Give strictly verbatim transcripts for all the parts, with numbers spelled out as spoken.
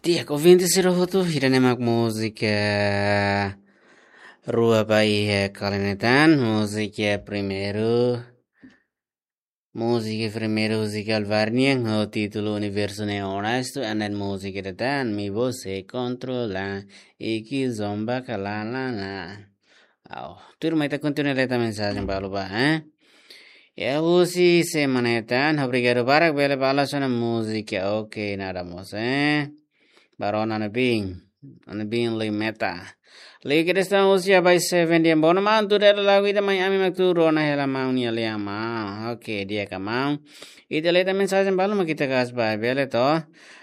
Di'ak, ouvinte sira hotu, ida-ne'e mak múzika rua ba iha kali ne'e tan, múzika primeiru. Múzika primeiru husi Calvarnian ho títulu Universo Neon Onesto, and then múzika ida tan, Mi Você Controla, Iki Zomba Kalalala. Au, tuirmai ita kontinua leta mensajen balu ba, eh? Ya, husi semana ne'e tan, obrigadu barak bele balas ona múzika, oke, nada mós, eh? Barona na bin, na bin Limeta. Lei ke desta husi Abai Seven dia bona man, tuda hela lagu ida mai ami mak tuur ona hela maun nia lea maun. Oke, di'ak maun. Ita leta mensajen balu mak ita kas ba, bele to.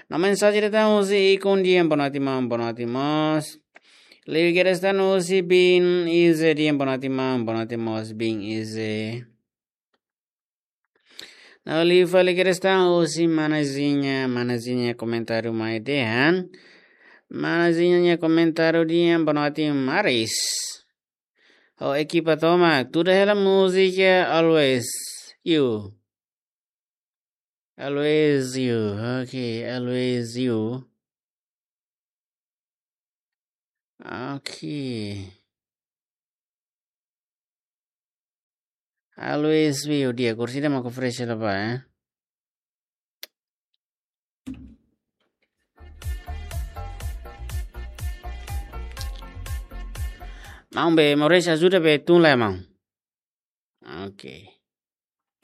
No mensajen ida tan husi Ikun dia bona ti maun, bona ti mós. Lei ke desta husi Bin Ize dia bona ti maun, bona ti mós Bin Ize. No liu fali ke desta husi Mana Zinha, Mana Zinha komentáriu mai dehan. Mana Zinha nia komentáriu dehan, bona ti maris. Ho ekipa tomak, tuda hela múzika Always You. Always You, oke, Always You. Oke. Always You, di'ak, kursi ida mak fresh la ba, eh? Maun be, Maurício ajuda be tun la, maun. Oke.